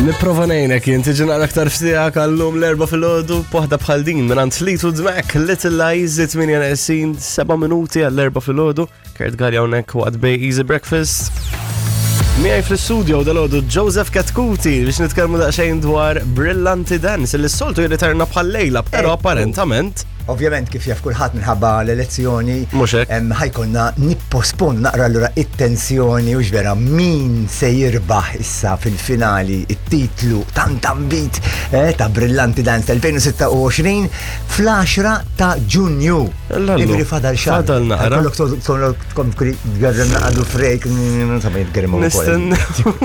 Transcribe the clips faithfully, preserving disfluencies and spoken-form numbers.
Nipprova ngħinek jien tiġi naqra aktar f'tiegħek għallum l-Erbgħa filgħodu b'waħda bħal din minn Fleetwood Mac, Little Lies, tmienja neqsin seba' minuti għall-erbgħa filgħodu. Kurt Galea hawnhekk waqt Bay Easy Breakfast. Miegħi fl-studio dalgħodu Joseph Chetcuti biex nitkellmu daqsxejn dwar Brillanti Dance li s-soltu jirriterna bħal lejla, però Ekku. apparentament Ovvjament, kif jaf kulħadd, minħabba l-elezzjoni Mhux hekk. em, ħa jkollna nipposponu naqra allura it-tensjoni u vera min se jirbaħ issa fil-finali it-titlu tant ambit eh, ta' Brillanti Dance elfejn u sitta u għoxrin fl-għaxra ta' Ġunju. Lallu. Jiġifieri fadal xahar. Fadal naqra. Kollok kollok tkun tgerrem naqadu frejk, insomma jitgerrem ukoll. Nistennew.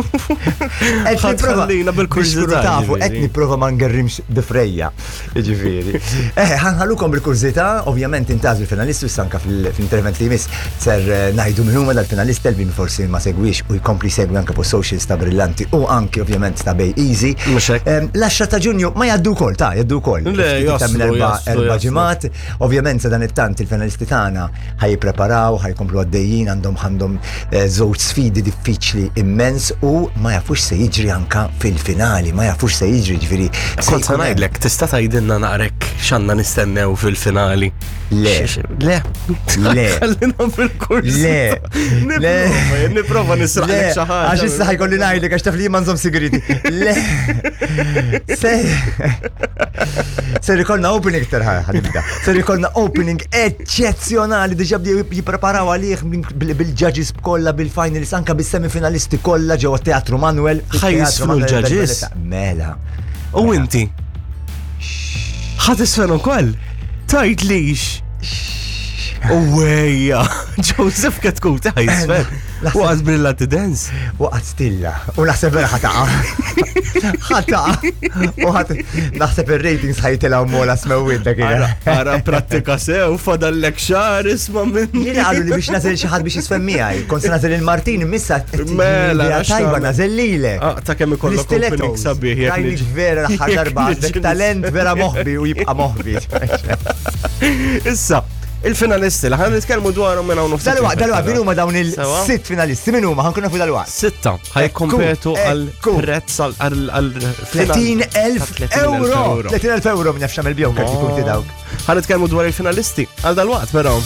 Qed nipprova- Ħallina bil-kurżità. Biex tkunu tafu, qed ġifieri. nipprova ma ngerrimx bifrejja. Ġifieri. Eh, ħa nħallukom bil-kurżità, ovvjament intgħażlu l-finalisti, issa anka fil- fil-intervent li jmiss ser eh, ngħidu min huma dal-finalisti li forsi ma segwix u jkompli segwi anke fuq socials ta' Brillanti u anke ovvjament ta' Bay Easy. Mhux hekk. Em, L-għaxra ta' Ġunju ma jgħaddu wkoll, ta' jgħaddu wkoll. Le, Ftit iktar minn jaslu, erba' jaslu, erba' jaslu. ġimgħat. Ovvjament sa dan it-tant il-finalisti tagħna ħa jippreparaw, ħa jkomplu għaddejjin, għandhom għandhom eh, żewġ sfidi diffiċli immens u ma jafux se jiġri anka fil-finali, ma jafux se jiġri, ġifieri. se Kont sa jkun hemm- ngħidlek, tista' tgħidilna naqrek x'għandna nistennew fil-finali? Le. X- Le. Le. Ħallina fil-kurs. Le. Le. Nipprova, nipprova nisraqlek Le, xi ħaġa. għax issa ħa jkolli ngħidlek għax taf li ma nżomm sigriti. Le. Se. Ser ikollna opening terħa ħa nibda. Ser ikollna opening eċċezzjonali, diġà bdew jippreparaw għalih bil- bil-judges kollha, bil-finalists, anka bis-semifinalisti kollha ġewwa Teatru Manuel. Ħa jiżfnu Teatru Manuel l-judges? Mela. U inti? Ħa tiżfen ukoll? Tgħidlix. Uwejja, Joseph Chetcuti ħa jiżfen. Naħseb- Waqt Brillanti Dance. Waqgħet stilla. U naħseb vera ħa taqa'. Ħa taqa'. U ħat naħseb ir-ratings ħa jitilgħu mola smewwiet dak Ara, ara prattika sew, fadallek xahar, isma' minn. Jiena qalu li biex nagħżel xi ħadd biex jiżfen miegħi. Kont se nagħżel il-Martin missa Mela, idea għax tajba tagħmel. nagħżel lilek. Ah, ta' kemm ikollok opening sabiħ jekk Rajnik niġi- vera l-aħħar jekk darba għandek niġi talent vera moħbi u jibqa' moħbi. Issa, il-finalisti li ħa nitkellmu dwarhom minn hawn Dalwaqt, dalwaqt, min huma dawn Sewa? il-sitt finalisti? Min huma? Ħa nkunu nafu dalwaqt. Sitta ħa jikkompetu Ekku, għal ekku. prezz għal għal tletin elf euro! tletin elf euro minn jaf x'għamel bihom karti punti dawk. Ħa nitkellmu dwar il-finalisti għal dalwaqt però.